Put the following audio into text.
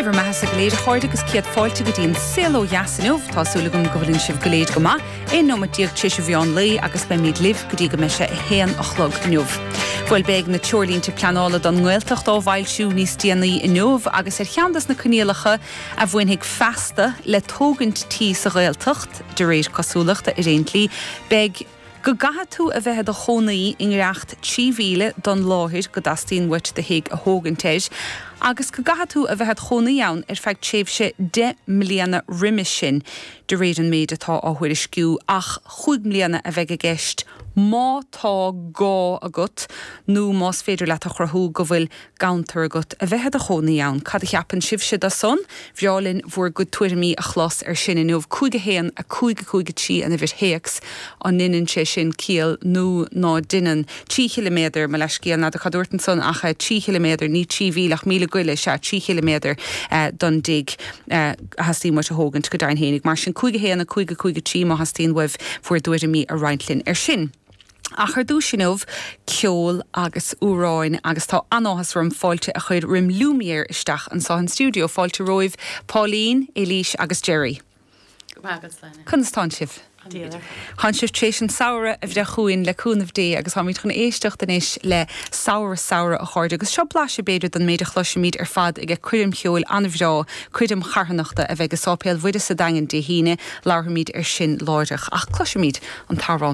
Dé bhur mbeathasa go léir a chairde agus céad fáilte go dtí an Saol Ó Dheas inniu. Tá súil agam go bhfuileann sibh go léir go maith. 11 nóimeat tar éis an mheán lae agus beimid libh go dtí go mbeidh sé 1 a chlog inniu. Bhuel beidh na treoirlínte pleanála don nGaeltacht á bhfoilsiú níos déanaí inniu agus ar cheann des na coinníollacha a bhainfidh feasta le tógaint tí sa Ghaeltacht, de réir cosúlachta ar aon tslí, beidh. Go gcaithfidh tú a bheith i do chónaí i ngiorracht 3 mhíle don láthair go dteastaíonn uait do thigh a thógaint air, agus go gcaithfidh tú a bheith id chónaí ann ar feadh tréimhse 10 mbliana roimis sin, de réir an méid atá á thuairisciú, ach chúig mbliana a bheidh i gceist má tá gá agat nó más féidir leat a chruthú go bhfuil ganntar agat a bheith i do chónaí ann. Cad a cheapann sibhse de san? Bhreá linn bhur gcuid tuairimí a chlos ar sin inniu. 5 1 5 5 3 an uimhir théacs. An ndeineann sé sin ciall nó ná deineann? 3 chiliméadar, mo leithscéal, n'fheadar cad dúrt ansan ach 3 chiliméadar, ní 3 mhíle ach míle goile, sea, 3 chiliméadar don dtigh a theastaíonn uait a thógaint, go deimhin fhéinig. Mar sin 5 1 5 5 3 má theastaíonn uaibh bhur dtuairimí a roinnt linn ar sin. Ach ar dtús inniu, ceol agus amhráin agus tá an-áthas orm fáilte a chur roim Lumière isteach anseo in stiúideo. Fáilte romhaibh Pauline, Éilís agus Gerry. Go maith agat, Sláine. Conas tánn sibh? An-mhaith. Tánn sibh tar éis an samhradh a bhreith chugainn le cúnamh Dé agus táimid chun éisteacht anois le Samhradh Samhradh a chairde agus seo blaiseadh b'fhéidir den méid a chloisfimid ar fad ag coirm cheoil an-bhreá, coirm charthanachta a bheidh i Sáipéal Mhuire sa Daingean Dé hAoine. Labharfaimid ar sin láithreach ach cloisfimid an t-amhrán.